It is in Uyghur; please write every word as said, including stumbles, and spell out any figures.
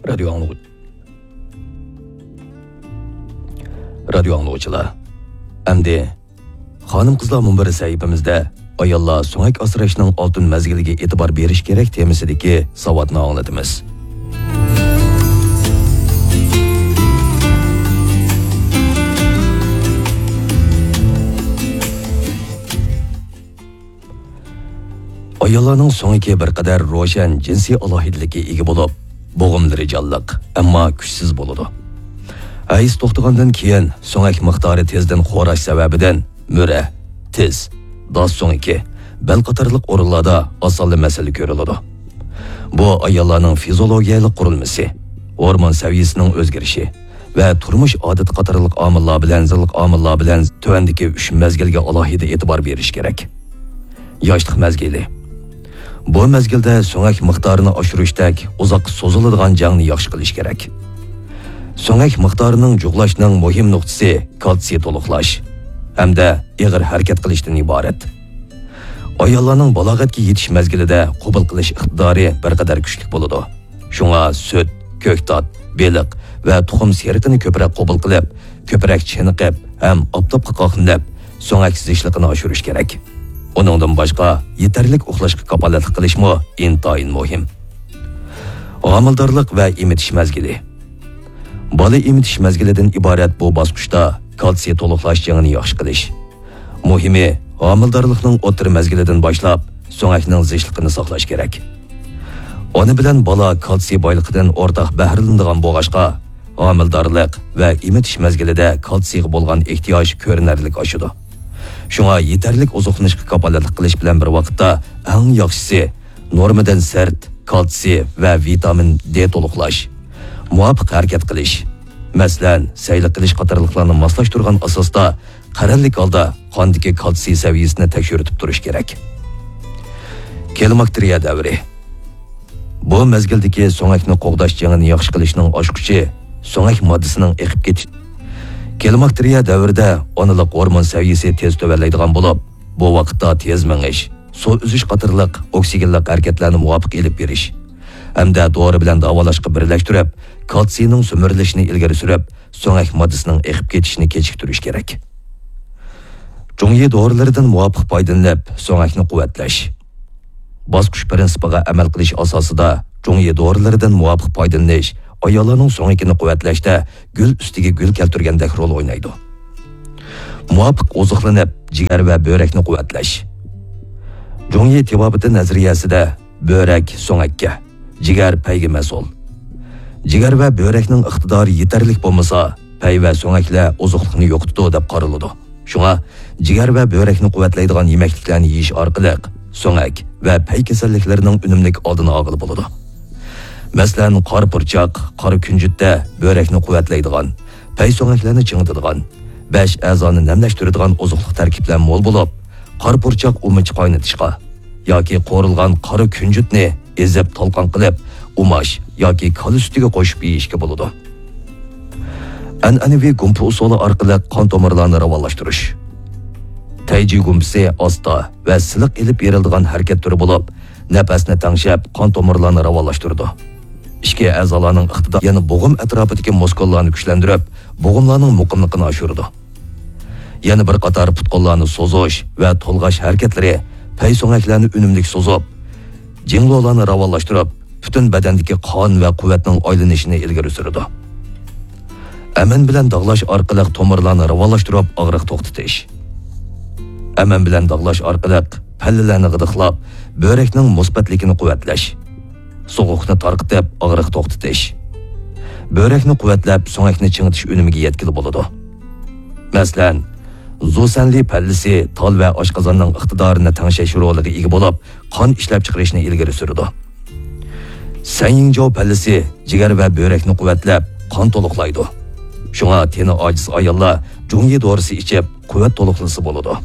رادىيو ئاڭلىغۇ-، رادىيو ئاڭلىغۇچىلار، ئەمدى خانىم-قىزلار مۇنبىرى سەھىپىمىزدە ئاياللار سۆڭەك ئاسراشنىڭ ئالتۇن مەزگىلىگە ئېتىبار بېرىش كېرەك تېمىسىدىكى ساۋاتنى ئاڭلىتىمىز. ئاياللارنىڭ سۆڭىكى بىر قەدەر روشەن جىنسىي ئالاھىدىلىككە ئىگە بولۇپ، بوغۇملىرى جانلىق، ئەمما كۈچسىز بولىدۇ. ھەيز توختىغاندىن كېيىن سۆڭەك مىقدارى تېزدىن خوراش سەۋەبىدىن مۈرە، تىز، داس سۆڭىكى، بەل قاتارلىق ئورۇنلاردا ئاسانلا مەسىلە كۆرۈلىدۇ. بۇ ئاياللارنىڭ فىزىئولوگىيەلىك قۇرۇلمىسى، ھورمون سەۋىيەسىنىڭ ئۆزگىرىشى ۋە تۇرمۇش ئادىتى قاتارلىق ئامىللار بىلەن، زىللىق ئامىللار بىلەن تۆۋەندىكى ئۈچ مەزگىلگە ئالاھىدە ئېتىبار بېرىش كېرەك. ياشلىق مەزگىلى. بۇ مەزگىلدە سۆڭەك مىقدارىنى ئاشۇرۇشتەك ئۇزاققا سوزۇلىدىغان جەڭنى ياخشى قىلىش كېرەك. سۆڭەك مىقدارىنىڭ جۇغلاشنىڭ مۇھىم نۇقتىسى كالتسىي تولۇقلاش ھەمدە ئېغىر ھەرىكەت قىلىشتىن ئىبارەت. ئاياللارنىڭ بالاغەتكە يېتىش مەزگىلىدە قوبۇل قىلىش ئىقتىدارى بىر قەدەر كۈچلۈك بولىدۇ. شۇڭا سۈت، كۆكتات، بېلىق ۋە تۇخۇم سېرىقىنى كۆپرەك قوبۇل قىلىپ، كۆپرەك چېنىقىپ ھەم ئاپتاپقا قاقلىنىپ، سۆڭەك زىچلىقىنى ئاشۇرۇش كېرەك. ئۇنىڭدىن باشقا، يېتەرلىك ئۇخلاشقا كاپالەتلىك قىلىشمۇ ئىنتايىن مۇھىم. ھامىلىدارلىق ۋە ئېمىتىش مەزگىلى. بالا ئېمىتىش مەزگىلىدىن ئىبارەت بۇ باسقۇچتا كالتسىي تولۇقلاش جېڭىنى ياخشى قىلىش. مۇھىمى، ھامىلىدارلىقنىڭ ئوتتۇرا مەزگىلىدىن باشلاپ سۆڭەكنىڭ زىچلىقىنى ساقلاش كېرەك. ئانا بىلەن بالا كالتسىي بايلىقىدىن ئورتاق بەھرىلىنىدىغان بولغاچقا، ھامىلىدارلىق ۋە ئېمىتىش مەزگىلىدە كالتسىيغا بولغان ئېھتىياج كۆرۈنەرلىك ئاشىدۇ. شۇڭا يېتەرلىك ئوزۇقلىنىشقا كاپالەتلىك قىلىش بىلەن بىر ۋاقىتتا، ئەڭ ياخشىسى نورمىدىن سىرت كالتسىي ۋە ۋىتامىن دې تولۇقلاش، مۇۋاپىق ھەرىكەت قىلىش، مەسىلەن، سەيلە قىلىش قاتارلىقلارنى ماسلاشتۇرغان ئاساستا قەرەللىك ھالدا قاندىكى كالتسىي سەۋىيەسىنى تەكشۈرتۈپ تۇرۇش كېرەك. كلىماكتېرىيە دەۋرى. بۇ مەزگىلدىكى سۆڭەكنى قوغداش جېڭىنى ياخشى قىلىشنىڭ ئاچقۇچى سۆڭەك ماددىسىنىڭ ئېقىپ كېتىش. كلىماكتېرىيە دەۋرىدە ئانىلىق ھورمون سەۋىيەسى تېز تۆۋەنلەيدىغان بولۇپ، بۇ ۋاقىتتا تېز مېڭىش، سۇ ئۈزۈش قاتارلىق ئوكسىگېنلىق ھەرىكەتلەرنى مۇۋاپىق ئېلىپ بېرىش ھەمدە دورا بىلەن داۋالاشقا بىرلەشتۈرۈپ، كالتسىينىڭ سۈمۈرۈلۈشىنى ئىلگىرى سۈرۈپ، سۆڭەك ماددىسىنىڭ ئېقىپ كېتىشىنى كېچىكتۈرۈش كېرەك. جۇڭيى دورىلىرىدىن مۇۋاپىق پايدىلىنىپ، سۆڭەكنى قۇۋۋەتلەش. باسقۇچ پىرىنسىپىغا ئەمەل قىلىش ئاساسىدا جۇڭيى دورىلىرىدىن مۇۋاپىق پايدىلىنىش ئاياللارنىڭ سۆڭىكىنى قۇۋۋەتلەشتە گۈل ئۈستىگە گۈل كەلتۈرگەندەك رول ئوينايدۇ. مۇۋاپىق ئوزۇقلىنىپ، جىگەر ۋە بۆرەكنى قۇۋۋەتلەش. جۇڭيى تېبابىتى نەزەرىيەسىدە بۆرەك سۆڭەككە، جىگەر پەيگە مەسئۇل. جىگەر ۋە بۆرەكنىڭ ئىقتىدارى يېتەرلىك بولمىسا، پەي ۋە سۆڭەكلەر ئوزۇقلۇقنى يوقىتىدۇ دەپ قارىلىدۇ. شۇڭا جىگەر ۋە بۆرەكنى قۇۋۋەتلەيدىغان يېمەكلىكلەرنى يېيىش ئارقىلىق سۆڭەك ۋە پەي كېسەللىكلىرىنىڭ ئۈنۈملۈك ئالدىنى ئالغىلى بولىدۇ. مەسىلەن، قارا پۇرچاق، قارا كۈنجۈتتە بۆرەكنى قۇۋۋەتلەيدىغان، پەي سۆڭەكلەرنى چىڭىتىدىغان، بەش ئەزانى نەملەشتۈرىدىغان ئوزۇقلۇق تەركىبلەر مول بولۇپ، قارا پۇرچاق ئۇمىچى قاينىتىشقا ياكى قورۇلغان قارا كۈنجۈتنى ئېزىپ تالقان قىلىپ ئۇماش ياكى كالا سۈتىگە قوشۇپ يېيىشكە بولىدۇ. ئەنئەنىۋى گۇمپا ئۇسۇلى ئارقىلىق قان تومۇرلارنى راۋانلاشتۇرۇش. تەيجى گۇمپىسى ئاستا ۋە سىلىق ئېلىپ بېرىلىدىغان ھەرىكەت تۈرى بولۇپ، نەپەسنى تەڭشەپ، قان تومۇرلارنى راۋانلاشتۇرىدۇ. ئىچكى ئەزالارنىڭ ئىقتىدارى يەنە بوغۇم ئەتراپىدىكى مۇسكۇللارنى كۈچلەندۈرۈپ، بوغۇملارنىڭ مۇقىملىقىنى ئاشۇرىدۇ. يەنە بىر قاتار پۇت-قوللارنى سوزۇش ۋە تولغاش ھەرىكەتلىرى پەي سۆڭەكلەرنى ئۈنۈملۈك سوزۇپ، جىڭلولارنى راۋانلاشتۇرۇپ، پۈتۈن بەدەندىكى قان ۋە قۇۋۋەتنىڭ ئايلىنىشىنى ئىلگىرى سۈرىدۇ. ئەمەن بىلەن داغلاش ئارقىلىق تومۇرلارنى راۋانلاشتۇرۇپ، ئاغرىق توختىتىش. ئەمەن بىلەن داغلاش ئارقىلىق پەللىلەرنى غىدىقلاپ، بۆرەكنىڭ مۇسبەتلىكىنى قۇۋۋەتلەش. سوغۇقنى تارقىتىپ، ئاغرىق توختىتىش. بۆرەكنى قۇۋۋەتلەپ، سۆڭەكنى چىڭىتىش ئۈنۈمىگە يەتكىلى بولىدۇ. مەسىلەن، زۇسەنلى پەللىسى تال ۋە ئاشقازاننىڭ ئىقتىدارىنى تەڭشەش رولىغا ئىگە بولۇپ، قان ئىشلەپچىقىرىشنى ئىلگىرى سۈرىدۇ. سەنيىڭجاۋ پەللىسى جىگەر ۋە بۆرەكنى قۇۋۋەتلەپ، قان تولۇقلايدۇ. شۇڭا تېنى ئاجىز ئاياللار جۇڭيى دورىسى ئىچىپ، قۇۋۋەت تولۇقلىسا بولىدۇ.